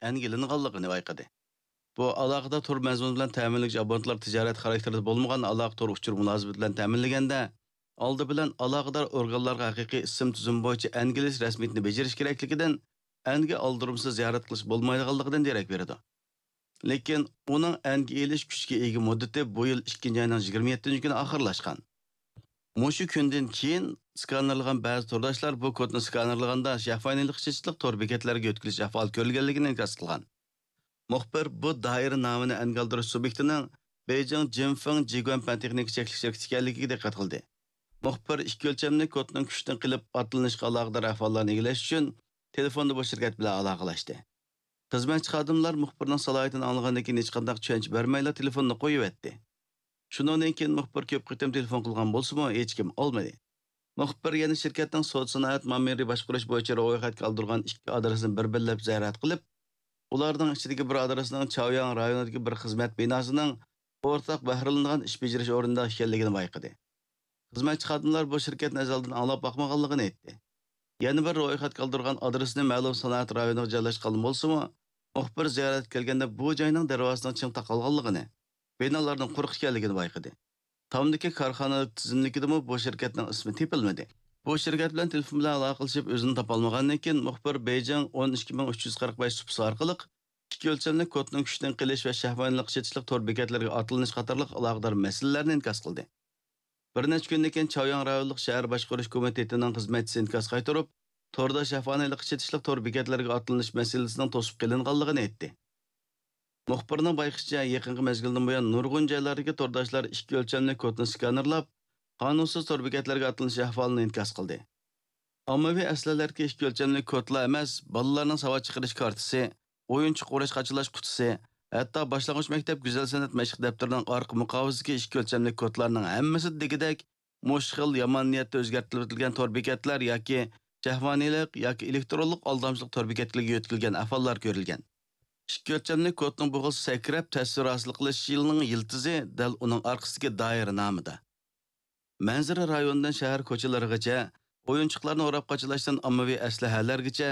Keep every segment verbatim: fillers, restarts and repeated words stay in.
ئەنگە ئېلىنغانلىقىنى بايقىدى. بۇ ئالاقىدار تور مەزمۇنى بىلەن تەمىنلىگۈچى ئابونېنتلار تىجارەت خاراكتېرىدا بولمىغان ئالاقە تور ئۇچۇر مۇلازىمىتى بىلەن تەمىنلىگەندە، ئالدى بىلەن ئالاقىدار ئورگانلارغا ھەقىقىي ئىسىم تۈزۈم بويىچە ئەنگە ئېلىش رەسمىيىتىنى بېجىرىش كېرەكلىكىدىن، ئەنگە ئالدۇرمىسىز زىيارەت قىلىش بولمايدىغانلىقىدىن دېرەك بېرىدۇ. لېكىن ئۇنىڭ ئەنگە ئېلىش كۈچىگە ئىگە مۇددىتى بۇ يىل ئىككىنچى ئاينىڭ يىگىرمە يەتتىنچى كۈنى ئاخىرلاشقان. مۇشۇ كۈندىن كېيىن سكانېرلىغان بەزى تورداشلار بۇ كودنى سكانېرلىغاندا شەھۋانىيلىق چېچىلىق تور بېكەتلەرگە يۆتكىلىش ئەھۋالى كۆرۈلگەنلىكىنى ئىنكاس قىلغان. مۇخبىر بۇ دائىرە نامىنى ئەنگە ئالدۇرۇش سۇبيېكتىنىڭ بېيجىڭ جىنفېڭ جىگۇەن پەن تېخنىكا چەكلىك شىركىتى ئىكەنلىكىگە دىققەت قىلدى. مۇخبىر ئىككى ئۆلچەملىك كودنىڭ كۈچتىن قېلىپ ئاتلىنىشقا ئالاقىدار ئەھۋاللارنى ئىگىلەش ئۈچۈن تېلېفوندا بۇ شىركەت بىلەن ئالاقىلەشتى. خىزمەتچى خادىملار مۇخبىرنىڭ سالاھىيىتىنى ئاڭلىغاندىن كېيىن ھېچقانداق چۈشەنچە بەرمەيلا تېلېفوننى قويۇۋەتتى. شۇنىڭدىن كېيىن مۇخبىر كۆپ قېتىم تېلېفون قىلغان بولسىمۇ، ھېچكىم ئالمىدى. مۇخبىر يەنە شىركەتنىڭ سودا سانائەت مامۇرى باشقۇرۇش بويىچە رويخەتكە ئالدۇرغان ئىككى ئادرېسنى بىر-بىرلەپ زىيارەت قىلىپ، ئۇلارنىڭ ئىچىدىكى بىر ئادرېسنىڭ چاۋياڭ رايونىدىكى بىر خىزمەت بىناسىنىڭ ئورتاق بەھرىلىنىدىغان ئىش بېجىرىش ئورنىدا ئىكەنلىكىنى بايقىدى. خىزمەتچى خادىملار بۇ شىركەتنى ئەزەلدىن ئاڭلاپ باقمىغانلىقىنى ئېيتتى. يەنە بىر رويخەتكە ئالدۇرغان ئادرېسنى مەلۇم سانائەت رايونىغا جايلاشقان بولسىمۇ، مۇخبىر زىيارەتكە كەلگەندە بۇ جاينىڭ دەرۋازىسىنىڭ چىڭ تاقالغانلىقىنى، بىنالارنىڭ قۇرۇق ئىكەنلىكىنى بايقىدى. تامدىكى كارخانا تىزىملىكىدىمۇ بۇ شىركەتنىڭ ئىسمى تېپىلمىدى. بۇ شىركەت بىلەن تېلېفون بىلەن ئالاقىلىشىپ ئۆزىنى تاپالمىغاندىن كېيىن، مۇخبىر بېيجىڭ ئون ئىككى مىڭ ئۈچ يۈز قىرىق بەش سۇپىسى ئارقىلىق ئىككى ئۆلچەملىك كودنىڭ كۈچتىن قېلىش ۋە شەھۋانىيلىق چېتىشلىق تور بېكەتلىرىگە ئاتلىنىش قاتارلىق ئالاقىدار مەسىلىلەرنى ئىنكاس قىلدى. بىر نەچچە كۈندىن كېيىن چاۋياڭ رايونلۇق شەھەر باشقۇرۇش كومىتېتىنىڭ خىزمەتچىسى ئىنكاس قايتۇرۇپ، توردا شەھۋانىيلىققا چېتىشلىق تور بېكەتلىرىگە ئاتلىنىش مەسىلىسىنىڭ توسۇپ قېلىنغانلىقىنى ئېيتتى. مۇخبىرنىڭ بايقىشىچە، يېقىنقى مەزگىلدىن بۇيان نۇرغۇن جايلاردىكى تورداشلار ئىككى ئۆلچەملىك كودنى سكانېرلاپ، قانۇنسىز تور بېكەتلەرگە ئاتلىنىش ئەھۋالىنى ئىنكاس قىلدى. ئاممىۋى ئەسلىھەلەردىكى ئىككى ئۆلچەملىك كودلا ئەمەس، بالىلارنىڭ ساۋات چىقىرىش كارتىسى، ئويۇنچۇق ئوراش قاچىلاش قۇتىسى، ھەتتا باشلانغۇچ مەكتەپ گۈزەل سەنئەت مەشىق دەپتىرىنىڭ ئارقا مۇقاۋىسىدىكى ئىككى ئۆلچەملىك كودلارنىڭ ھەممىسى دېگۈدەك مۇشۇ خىل يامان نىيەتتە ئۆزگەرتىلىۋېتىلگەن تور بېكەتلەر ياكى شەھۋانىيلىق ياكى ئېلېكترونلۇق ئالدامچىلىق تور بېكەتلىرىگە يۆتكىلىگەن ئەھۋاللار كۆرۈلگەن. ئىككى ئۆلچەملىك كودنىڭ بۇ خىل سەكرەپ تەسۋىر ھاسىل قىلىش يىلىنىڭ يىلتىزى دەل ئۇنىڭ ئارقىسىدىكى دائىرە نامىدا. مەنزىرە رايونىدىن شەھەر كوچىلىرىغىچە، ئويۇنچۇقلارنى ئوراپ قاچىلاشتىن ئاممىۋى ئەسلىھەلەرگىچە،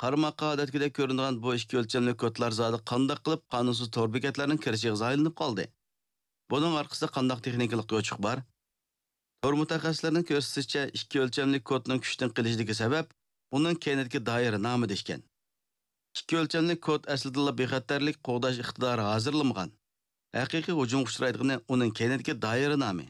قارىماققا ئادەتتىكىدەك كۆرۈنىدىغان بۇ ئىككى ئۆلچەملىك كودلار زادى قانداق قىلىپ قانۇنسىز تور بېكەتلەرنىڭ كىرىشىگە زايلىنىپ قالدى؟ بۇنىڭ ئارقىسىدا قانداق تېخنىكىلىق يوچۇق بار؟ تور مۇتەخەسسىسلىرىنىڭ كۆرسىتىشىچە، ئىككى ئۆلچەملىك كودنىڭ كۈچتىن قېلىشىدىكى سەۋەب ئۇنىڭ كەينىدىكى دائىرە نامىدا ئىكەن. ئىككى ئۆلچەملىك كود ئەسلىدىلا بىخەتەرلىك قوغداش ئىقتىدارى ھازىرلىمىغان. ھەقىقىي ھۇجۇمغا ئۇچرايدىغىنى ئۇنىڭ كەينىدىكى دائىرە نامى.